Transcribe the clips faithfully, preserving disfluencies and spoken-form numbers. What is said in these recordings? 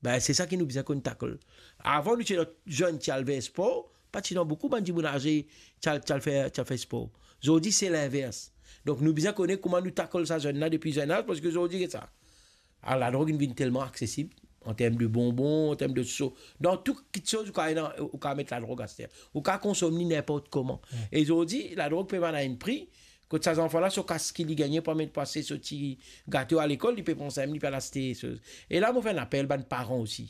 Ben, se sa ki nou bizin konn tackle. Avan, nou ti ena zenn ti al fer spor, pa ti ena boukou bann dimoun aze ti al, ti al fer, ti al fer spor. Zordi, se linvers. Donk, nou bizin kone kouma nou tackle sa zenn la depi zenn az, parski zordi, get sa. Ah, ladrog inn vinn telman aksesib, an term de bonbon, an term de so. Dan tou kiksoz, ou kav ena, ou kav met ladrog aster. Ou kav konsom li ninport kouma. Mm. E zordi, ladrog pe vann a enn pri, kot sa zanfan la, so kas ki li gagne pou amenn pou aste so ti gato a lekol, li pe pran sa mem, li pe al aste so. E la, mo fer enn apel bann paran osi.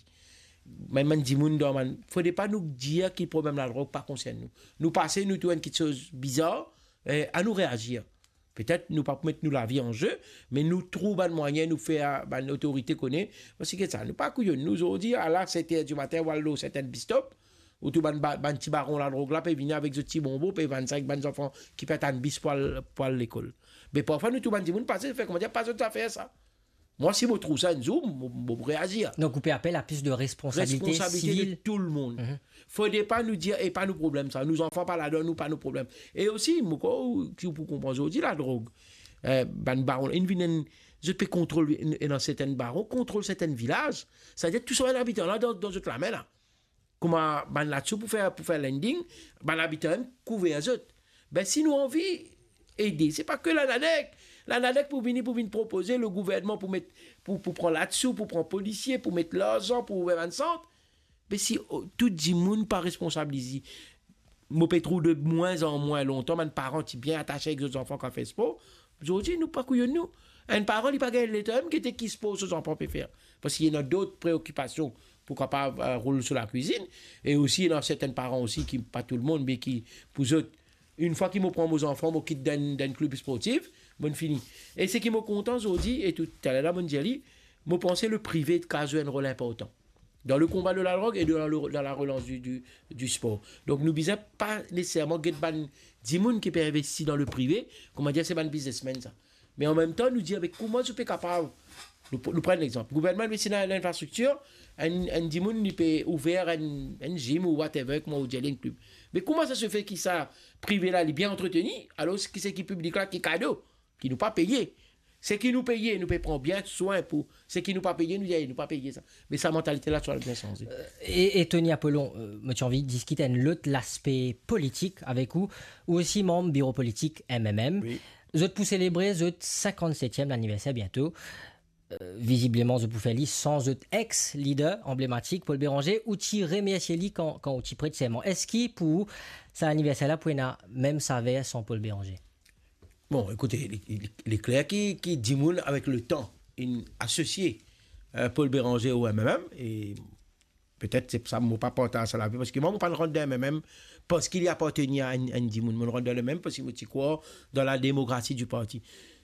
Mem bann dimoun dan bann, fode pa nou dir ki problem ladrog pa konsern nou. Nou pase, nou trouv enn kiksoz bizar, eh, anou reazir. Petet nou pa pou met nou lavi an ze, me nou trouv bann mwayin, nou fer bann otorite kone, parski sa, nou pa kouyonn. Nou zordi, ala set er di matin, ou al lor sertin bistop, ou trouv bann ba-, bann ti baron ladrog la pe vini avek zot ti bonbon, pe vann sa ek bann zanfan ki pe atann bis pou al, pou al lekol. Me parfwa nou trouv bann dimoun pase, fer koumadir pa zot zafer sa. Mwa, si mo trouv sa enn zour, mo, mo pou reazir. Donk, ou pe apel a plis de responsabilite sivil. Responsabilite de tou lemonn. Mhm. Fode pa nou dir, "E pa nou problem sa, nou zanfan pa ladan, nou pa nou problem." E osi, mo krwar, ki ou pou konpran zordi, ladrog, eh, bann baron, inn vinn enn, zot pe kontrol, enn, enn sertin baron, kontrol sertin vilaz. Savedir tou sa bann abitan la, dan, dan zot lame la. Kouma bann latsou pou fer, pou fer lending, bann abitan mem kouver zot. Ben, si nou anvi ede, se pa ke Lanadek. Lanadek pou vini, pou vinn propoze, le gouvernman pou met, pou, pou pran latsou, pou pran polisie, pou met larzan, pou ouver bann sant. Me si, o, tou dimoun pa responsabilize, mo pe trouv de mwin an mwin, lontan bann paran ti bien atase ek zot zanfan ki al fer spor. Zordi, nou pa kouyonn nou. Enn paran, li pa gagn letan mem gete ki spor so zanfan pe fer. Parski ena dot preokipasion pou kapav, eh, roul so lakwizinn. E osi, ena sertin paran osi ki, pa tou lemonn, me ki, pou zot, enn fwa ki mo pran mo zanfan, mo kit dan, dan klib sportif, mo fini. E seki mo kontan zordi, e tou, taler la, mo dir li, mo panse le prive kav zwe enn rol inportan dan le konba de ladrog e dan le, dan la relans di, di, di spor. Donk, nou bizin pa neseserman get bann dimoun ki pe investi dan le prive, koumadir se bann biznesmenn sa. Me an mem tan, nou dir, "Me kouma zot pe kapav?" Nou, nou pran enn lexanp. Gouvernman investi dan linfrastriktir, enn, enn dimoun, li pe ouver enn, enn gym ou whatever, kouma ou dir, enn klib. Me kouma sa se fer ki sa prive la, li bien antreteni, alor ki seki piblik la ki kado, ki nou pa peye? Seki nou peye, nou pe pran bien swin pou, seki nou pa peye, nou dir, "Nou pa peye sa." Me sa mantalite la, ti pou bizin sanze. Euh, e, e Tony Apollon, euh, mo ti anvi diskit enn lot laspe politik avek ou. Ou osi manm biro politik M M M. Wi. Zot pou selebre zot sinkant-setiem laniverser biento. Euh, vizibleman, zot pou fer li san zot ex-lider anblematik, Paul Bérenger, ou ti remersie li kan, kan ou ti pret serman. Eski pou ou, sa laniverser la pou ena mem saver san Paul Bérenger? Bon, ekoute, li, li, li kler ki, ki dimoun avek letan inn asosie, euh, Paul Bérenger o M M M, e petet se pou sa mo pa partaz sa lavi, parski mwa, mo pa rant dan M M M parski li apartenir a enn, enn dimoun. Mo rant dan le M M M parski mo ti krwar dan la demokrasi di parti.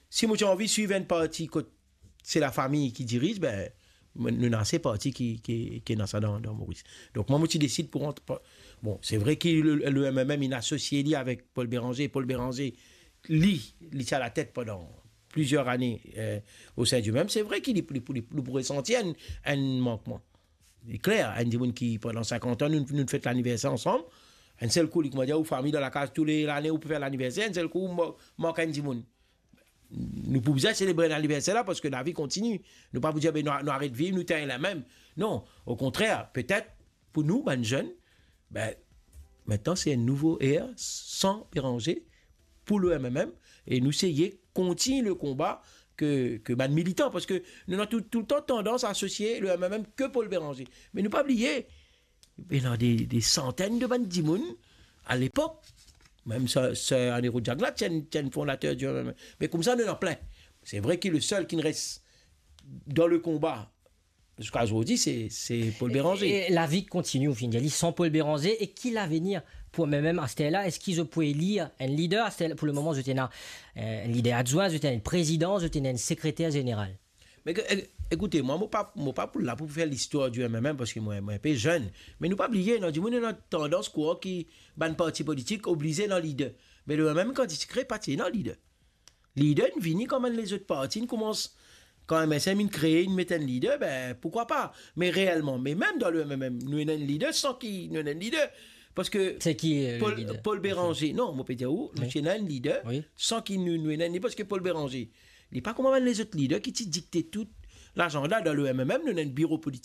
Si mo ti anvi swiv enn parti kot se lafami ki diriz, ben, nou ena ase parti ki, ki, ki ena sa dan, dan Moris. Donk, mwa, mo ti desid pou rant pa-, bon, se vre ki le, le M M M inn asosie li avek Paul Bérenger. Paul Bérenger, li, li ti alatet pandan plizier ane, euh, o sin di M M M. Se vre ki li, li, li, li pou resanti enn, enn mankman. Li kler, enn dimoun ki, pandan sinkant an, nou, nou fet laniverser ansam. Enn sel kou, li koumadir, ou fami dan lakaz, tou le lane, ou pe fer laniverser, enn sel kou, ou ma-, mank enn dimoun. Nou pou bizin selebre laniverser la, parski lavi kontini. Nou pa pou dir, "Ben, nou, nou aret viv, nou terminn la mem." Non, okontrer, petet, pou nou, bann zenn, ben, mintnan, se enn nouvo er, san Bérenger, pou le M M M, e nou seye kontign le konba ke, ke bann militan, parski nou ena tou, toultan tandans asosie le M M M ke Paul Bérenger. Me nou pa bliye, ena de, de santenn de bann dimoun, a lepok, mem sa, sa Anero Diagla, ti enn, ti enn fondater di M M M. Me koumsa, nou ena plin. Se vre ki le sel ki res dan le konba ziska zordi, se, se Paul Bérenger. E, e lavi kontini, ou finn dir li, san Paul Bérenger, e ki lavenir pou M M M aster la? Eski zot pou elir enn lider aster la? Pou le moman, zot ena, euh, enn lider adwin, zot ena enn prezidan, zot ena enn sekreter zeneral. Me ke, e, ekoute, mwa, mo pa, mo pa pou la pou fer listwar di M M M, parski mwa, mwa enpe zenn. Me nou pa bliye, ena dimoun ena tandans krwar ki bann parti politik oblize ena lider. Me le M M M, kan li ti kre, pa ti ena lider. Lider inn vini kan bann lezot parti inn koumans, kan M S M inn kree, inn met enn lider, ben, poukwa pa? Me reelman, me mem dan le M M M, nou ena enn lider san ki nou ena enn lider. Parski... Se ki, euh, le lider? Paul, Paul Bérenger. Non, mo pe dir ou, nou ti ena enn lider san ki nou, nou ena enn lider, parski Paul Bérenger, li pa kouma bann lezot lider ki ti dikte tou lazanda dan le M M M, nou ena enn biro politik.